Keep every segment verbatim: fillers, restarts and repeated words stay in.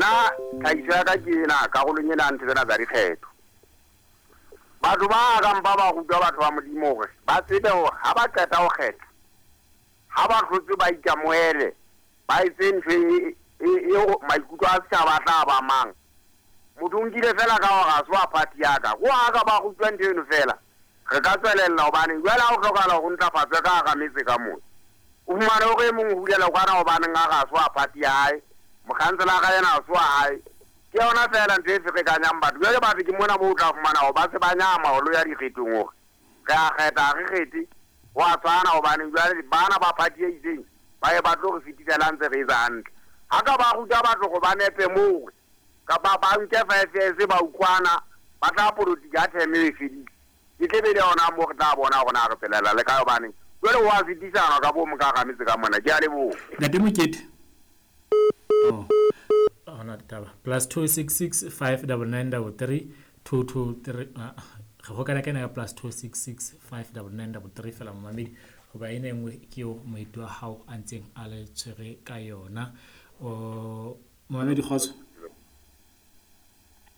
Nna tlhahiso ya ka ke ena karolong ena ntho tsena tsa dikgetho. Batho ba ka mpa ba rutwa batho ba Modimo hore ba tsebe hore ha ba qeta ho kgetha, ha ba hlotse ba ikamohele, ba etse ntho e e maikutlo a setjhaba a tla ba mang. Motho o nkile fela ka hore ha se wa party ya ka. Ho ha ka ba rutwa ntho eno fela, re ka tswelella hobane jwale ha o hlokahala hore o ntlafatswe ka hara metse ka mona. O fumane hore e mong o hulela kwana hobaneng a re ha se wa party ya hae, mokhanselara yena ha se wa hae. Ke yona fela ntho e ferekanyang batho. Jwale batho ke mona moo o tla fumana hore ba se ba nyama ho lo ya dikgethong hore re a kgetha ha re kgethe, ho a tshwana hobane jwale bana ba party e itseng ba ye ba tlo re fetisela ntse re etsa hantle. Ha ka ba ruta batho hore ba nepe moo kapa ba nke five years ba utlwana, ba tla polotiki ha term e fedile. Ke tle be le yona moo re tla bona hore na re tswelela le kae hobane jwale ho a fetisana ka bo mo ka hara metse ka mona. Ke a leboha. Ntate Mokete. Oh. Hona taba. Plus two six six five double nine double three two two three. Ah, re hokana ka ena ka plus two six six five double nine double three fela momamedi hoba ena e nngwe ke eo moeti wa hao a ntseng a le tshwere ka yona. O momamedi kgotso.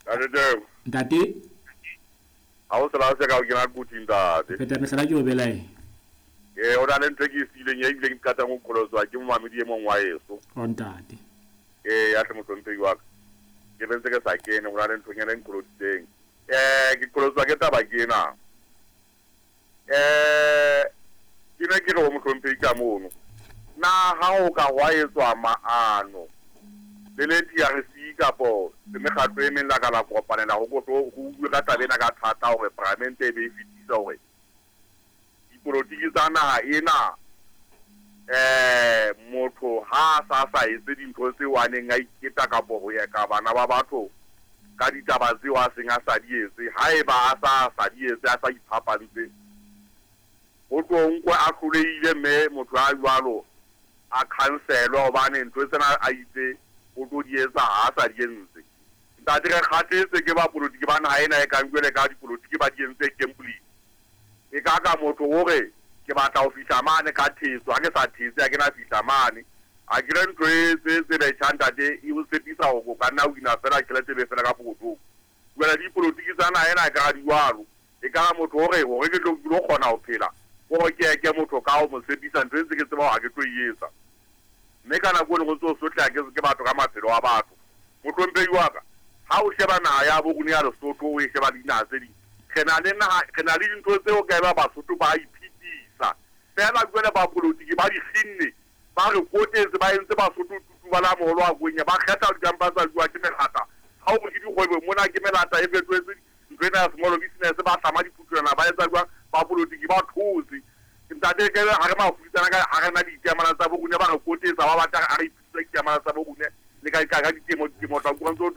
Ntate. Ntate. Ha o sela se ka o kena kuting ntate. Pheta mehlala ke o belae. Eh o na le ntho e ke e siileng e bileng ke qetang ho qholoswa ke momamedi e mong wa heso. O ntate. Eh ya hle mohlomphehi wa ka. Ke bentse ke sa kene ho na le nthonyana e nqholositseng. Eh ke qholoswa ke taba ke ena. Eh ke ne ke re ho mohlomphehi ka mono. Na ha o ka hwa etswa maano le le T R C kapo le mekgatlo e meng la ka la kopanela ho ho bua ka taba ena ka thata hore paramente e be e fetisa hore dipolotiki tsa naha ena eh motho ha sa sa etse dintho tseo a neng a iketa kapo ho ya ka bana ba batho ka ditaba tseo a seng a sa di etse, haeba a sa sa di etse a sa iphapantse ho tlo nkwe a hlolehile mme motho a jwalo a khanselwa hobane ntho tsena a itse o tlo di etsa ha a sa di entse. Ntate re kgathetse ke bapolotiki ba naha ena e kang jwale ka dipolotiki ba di entse gambling. E ka ka motho o re ke batla ho fihla mane ka thetso, ha ke sa thetse ha ke na fihla mane. A ke re ntho e tse tse betjhang ntate e o tshepisa hore o ka nna o wina fela tjhelete e be fela ka pokothong. Jwale dipolotiki tsa naha ena e ka di jwalo. E ka ra motho o re hore ke tlo ke tlo kgona ho phela, hore ke eke motho ka ho mo tshepisa ntho e ntse ke tseba hore ha ke tlo e etsa. Mme ka nako e nngwe o ntso sotleha ke ke batho ka maphelo a batho. Mohlomphehi wa ka, ha o sheba naha ya bo rona ya Lesotho, o e sheba le dinaha tse ding, re na le naha, re na le dintho tseo ka eba Basotho ba iphedisa. Fela jwale bapolotiki ba di kginne, ba re kotetse, ba entse Basotho tutu ba la moholo wa kwenya, ba kgetha dikampa tsa jwa ke melata. Ha o re ke dikgwebo mona ke melata e fetohetse ntho ena ya small business, ba hlama diphuthulwana, ba etsa jwang, bapolotiki ba thotse. Ntate ke ha re mafutsana ka ha re na ditemana tsa bo rona ba re kotetsa ba batla ha re iphedisa ditemana tsa bo rona le ka ka ditemo ditemo tsa go ntse o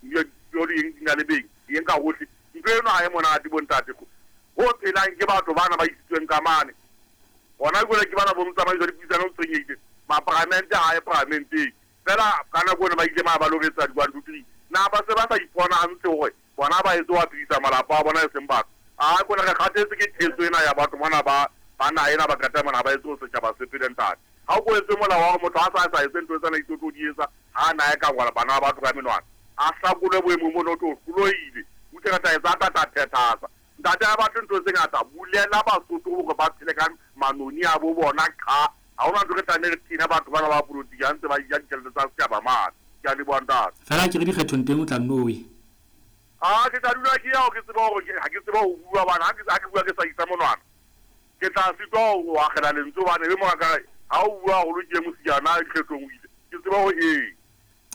yo di eng di na le beng eng ka hohle ntho eno ha e monate bo ntate go ho phelang ke batho bana ba isitsweng ka mane hona jwale ke bana bo motsamaiso dipuisano o tshwenyehile maparamente ha e paramenteng fela ka nako eno ba ile ma ba loretsa di one two three na ba se ba sa ipona hantle hore bona ba etse wa phedisa malapa a bona e seng batho a kona re kgathetse ke thetso ena ya batho mona ba ba naha ena ba qeta mona ba etse ho setjhaba se phele ntate. Ha o etse molao wa hore motho ha sa sa etse ntho tsena itse di etsa ha na e ka ngwala bana ba batho ka menwana a hlakolwe boemong bona o tlo hlolohile o tle ka tla etsa ka tla phethatsa. Ntate ha batle ntho tse ngata bulela Basotho hore ba phele ka manoni a bo bona qha. Ha hona ntho re tlameha re thina batho bana ba polotiki ha ntse ba ja ditjhelete tsa setjhaba mane. Ke a leboha ntate. Fela ke re dikgethong teng o tla nno we. Ah ke tla dula ke ya ke tseba hore ha ke tseba ho bua bana ha ke ha ke bua ke sa isa monwana. Ke tla sitwa ho akgela lentswe hobane e mong ka re ha o bua haholo ke mosiana dikgethong o ile. Ke tseba hore ee.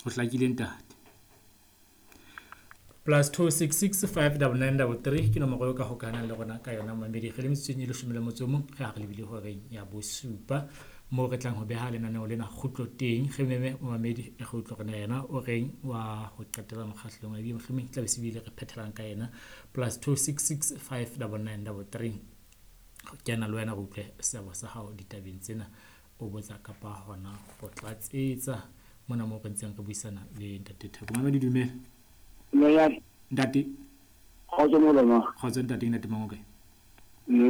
O hlakile ntate. Plus two six six five double nine double three ke nomoro eo ka hokahanang le rona ka yona momamedi. Re le metsotsong e leshome le motso o mong re ha re lebile horeng ya bosupa moo re tlang ho beha lenaneo lena kgutlo teng. Re meme momamedi re utlwe hore na yena o reng wa ho qetela mokgahlelong wa ebile mohlomong tla be se bile re phethelang ka yena. Plus two six six five double nine double three kena le wena re utlwe seabo sa hao ditabeng tsena o botsa kapa hona ho tlatsetsa mona moo re ntseng re buisana le ntate Theko. Mamedi dumela. Nonyane. Ntate. Kgotso molemo. Kgotso ntate, ntate Mangoke.